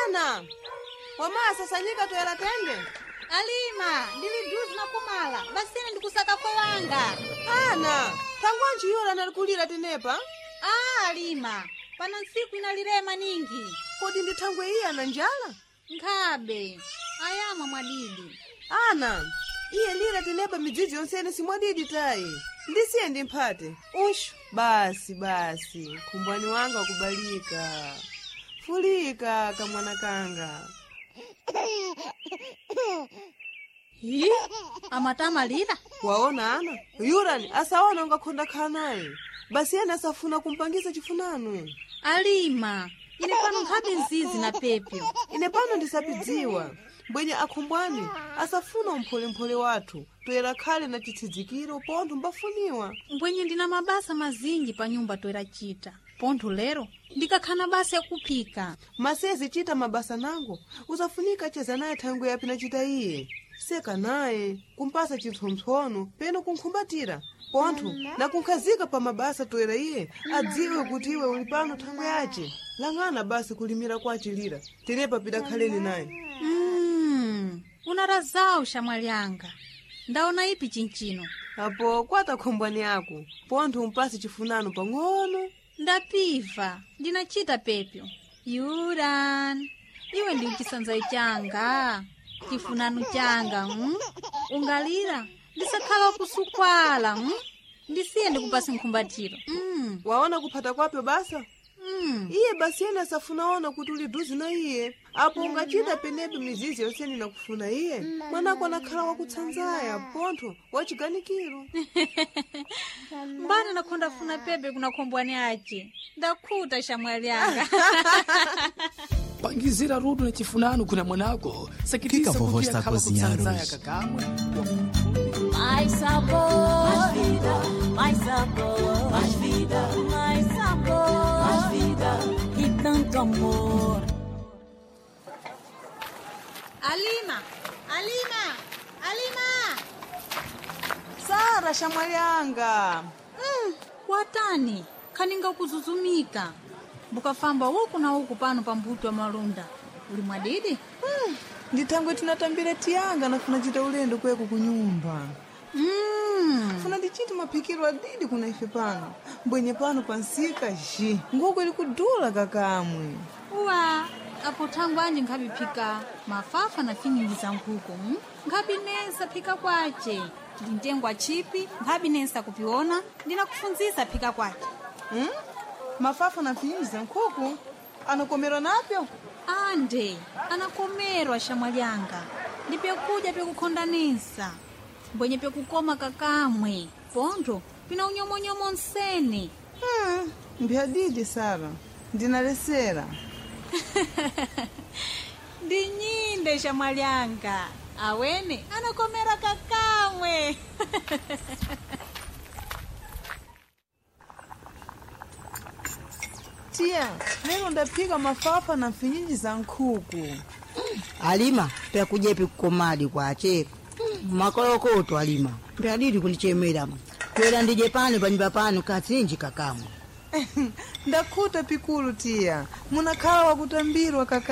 Ana, wamasa sanyika toyela tende. Alima, ndili duzi na kumala basine ndikusaka wanga. Ana, thangwanji yola analikulira tenepa? Ah, Alima, pano ntsiku inalirema ningi. Kodi ndi thangwe iye ana njala? Nkhabe ayamwa mwadidi. Ana, iye lira tenepa midzidzi yonsene simwadidi tayi. Ndisiye ndimphate. Ushu, basi basi, khumbwani wanga kubalika. Fulika kamwana kanga. Hi, amatamalira? Waona ana, yurani asaona ungakhonda khala naye. Basi ena asafuna kumpangisa chifunano. Alima, ine pano nkhabe nzizi na pepyo. Ine pano ndisapidziwa. Mbwenye akhumbwani asafuna umpholemphole wathu toyera khale na chitsidzikiro pontho mbafuniwa. Mbwenye ndina mabasa mazinji pa nyumba toera chita. Pontho lero ndikakhana basa yakuphika. Masezi chita mabasa nango usafunika cheza naye thangwe yapi nachita iye. Seka naye kumpasa chipsompsono peno kunkhumbatira pontho nakunkhazika pa mabasa toera iye adziwe kuti iwe uli pano thangwe yace. Lang'ana basi kulimira kwachilira tenepa pidakhaleni naye. Unarazawu shamwali anga. Ndaona ipi chinchino. Apo kwata khombwani ako pontho umpase chifunano pang'ono. Ndapiva, ndinachita pepyo. Yuran, iwe ndi chisanzayi changa, chifunano changa, Ungalira ndisakhala wakusukwala, Ndisiye ndikupase nkhumbatiro. Waona kuphata kwapyo basa? Iye basi yena asafunaona kuti uli duzi na iye. Apo ungachita penepo mizizi yonsene nakufuna iye. Mwanako anakhala wakutsanzaya pontho wachiganikiro. Mbana nakhonda funa pepe kuna khombwani ace. Ndakhuta shamwali anga. Pangizira rudo na chifunano kuna mwanako Que sakitisa a vovó kuti está a akhala cozinhar kutsanzaya hoje? kakamwe. Mais sabor, mais vida, mais sabor, mais vida, mais sabor, mais vida e tanto amor. Alima, Alima, Alima! Sara shamwali anga. Watani, kaninga kuzuzumika. Mbukafamba uku na uku pano pa mbuto wa malunda. Uli mwadidi? Ndithangwe tinatambira tiyanga nafuna chita ulendo kweko kunyumba. Funa ndichite maphikiro adidi kuna ife pano. Mbwenye pano pansika ji. Nguku ili kudula kakamwe. Uwa, apo thangwe anje nkhapiphika mafafa na finyinji za nkhuku. Nkhapinesa phika kwace. Ndintengwa chipi, nkhapinesa kupiona, ndinakufunzisa phika kwace. Mafafa na finyinji za nkhuku anakomerwa napyo? Ande, anakomerwa shamwali anga. Ndi pyakudya pyakukhondanisa. Mbwenye pyakukoma kakamwe. Pontho, pina unyomonyomo nsene. Mbyadidi Sara, ndinalesera. Ndi nyinde shamwali anga. Awene anakomera kakamwe. Tiya, lero ndaphika mafafa na mfinyinji za nkhuku. Alima, pyakuja kukomadi kwache. Makolokoto alima. Pyadidi kundichemera. Kwera ndije pano panyumba pano katsinji kakamwe. Ndakhuta pikulu tiya, munakhala wakutambirwa kaka.